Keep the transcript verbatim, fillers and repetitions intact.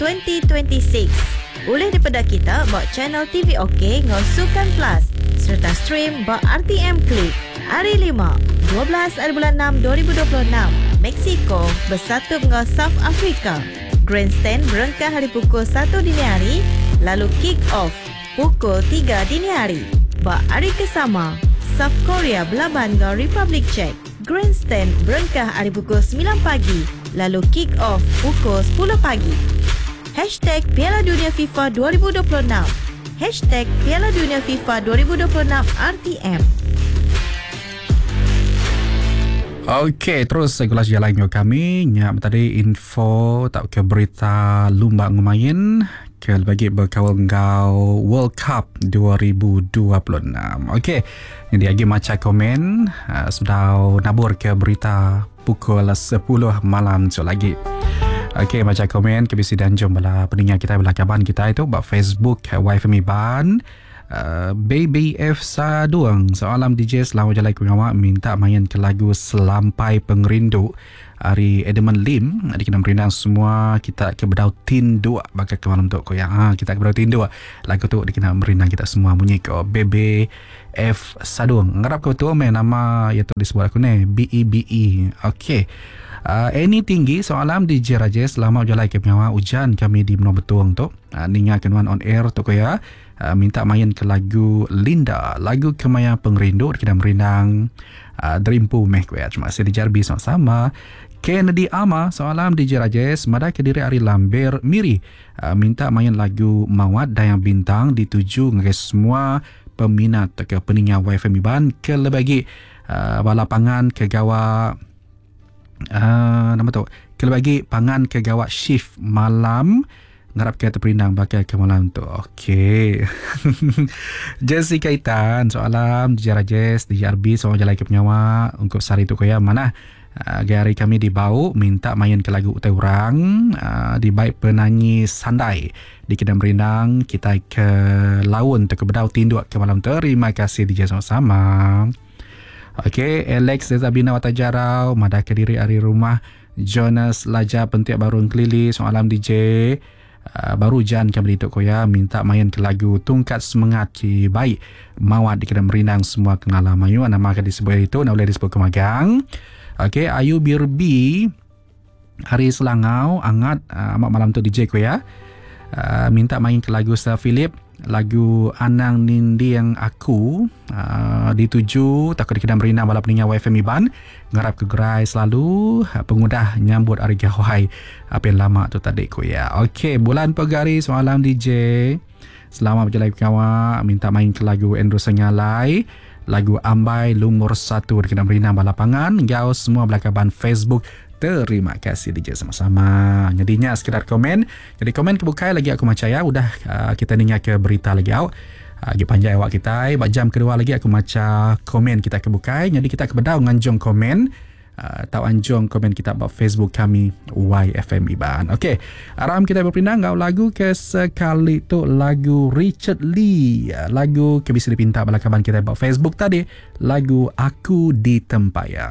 twenty twenty-six. Ulih daripada kita ba channel T V OK ngau Sukan Plus serta stream ba R T M Click. Hari lima, dua belas hari bulan enam dua ribu dua puluh enam, Mexico bersatu dengan South Africa. Grandstand berengkah hari pukul satu dini hari, lalu kick off pukul tiga dini hari. Ba hari kesama, South Korea berlaban dengan Republic Czech. Grandstand berengkah hari pukul sembilan pagi, lalu kick off pukul sepuluh pagi. Hashtag Piala Dunia FIFA dua ribu dua puluh enam. Hashtag Piala Dunia FIFA dua ribu dua puluh enam R T M. Okey, terus gulas jalan dengan kami. Nyak tadi info tak ke berita lumba ngumain ke bagi berkawal ngau World Cup dua ribu dua puluh enam. Okey, jadi lagi maca komen, uh, sudah nabur ke berita pukul sepuluh malam tu lagi. Okey, baca komen ke bisi dan jom bala pendengar kita bala kaban kita itu bab Facebook Y F M Iban. Uh, Baby F Saduang soalan D J selamat jalan ku ngawak minta main ke lagu Selampai Pengerindu hari Edmund Lim. Adi kena merindang semua kita ke bedau tinduk bakal ke malam tu ko ya. Ha, kita ke bedau tinduk lagu tu dikena merindang kita semua bunyi ko Baby F Saduang. Ngarap ko tu main nama iaitu disebut aku ni B E B E. Okey. Uh, Eni tinggi soalan D J Rajesh selamat jalan ke pengawal hujan kami di Menua Betuang tu. Uh, ninga kenuan on air tu ko ya. Uh, minta main ke lagu Linda, lagu Kemaya Pengerindu kita merindang uh, Dreampu meh ko ya. Terima kasih D J R B sama-sama. Kennedy Ama soalan D J Rajesh madai ke diri Ari Lambir Miri. Uh, minta main lagu Mawat Dayang Bintang dituju ngagai semua peminat ke peninga Y F M Iban ke lebih uh, bala pangan ke gawa Uh, nama tu kalau bagi pangan ke gawak shift malam ngarap ke terperindang bakal ke malam tu. Okey. Jessica Itan soalan D J Rajesh D J R B soal jalan ke penyawa untuk sehari tu koya mana uh, gari kami di Bau minta main ke lagu utai orang uh, di baik penyanyi sandai di Kedang Merindang kita ke laun tu ke bedau tinduk ke malam tu. Terima kasih D J sama-sama. Okey, Alex Dezabina Watajarau, madah ke diri hari rumah Jonas Laja Pentiak Baru Kelili, soalan D J. Uh, baru jan kami dituk koya minta main ke lagu Tungkat Semangat Ki Baik Mawat di Kedang Merindang semua kenala mayu nama akan disebut itu nak boleh disebut kemagang. Okey, Ayu Birbi hari Selangau angat uh, amat malam tu D J koya. Uh, minta main ke lagu Sir Philip, lagu Anang Nindi Yang Aku, uh, dituju takut di Kedang Merindang balap peningat Y F M Iban ngarap ke gerai selalu uh, pengudah nyambut hari gawai apa yang lama tu tadi ku ya. Okey, bulan pegari semalam D J selamat berjalan kawak minta main ke lagu Andrew Sengalai, lagu Ambai Lumur satu di Kedang Merindang balapangan gau semua belakaban Facebook. Terima kasih D J sama-sama. Jadinya sekedar komen. Jadi komen kebukai lagi aku maca ya. Udah uh, kita ninga ke berita lagi awak. Lagi panjang awak kita. Bak jam kedua lagi aku maca komen kita kebukai. Jadi kita ke bedau nganjung komen. Uh, tau anjung komen kita bak Facebook kami Y F M Iban. Okey, aram kita berpindah ngau lagu ke sekali tu lagu Richard Lee. Lagu ke bisa dipinta bala kaban kita bak Facebook tadi, lagu Aku di Tempaya.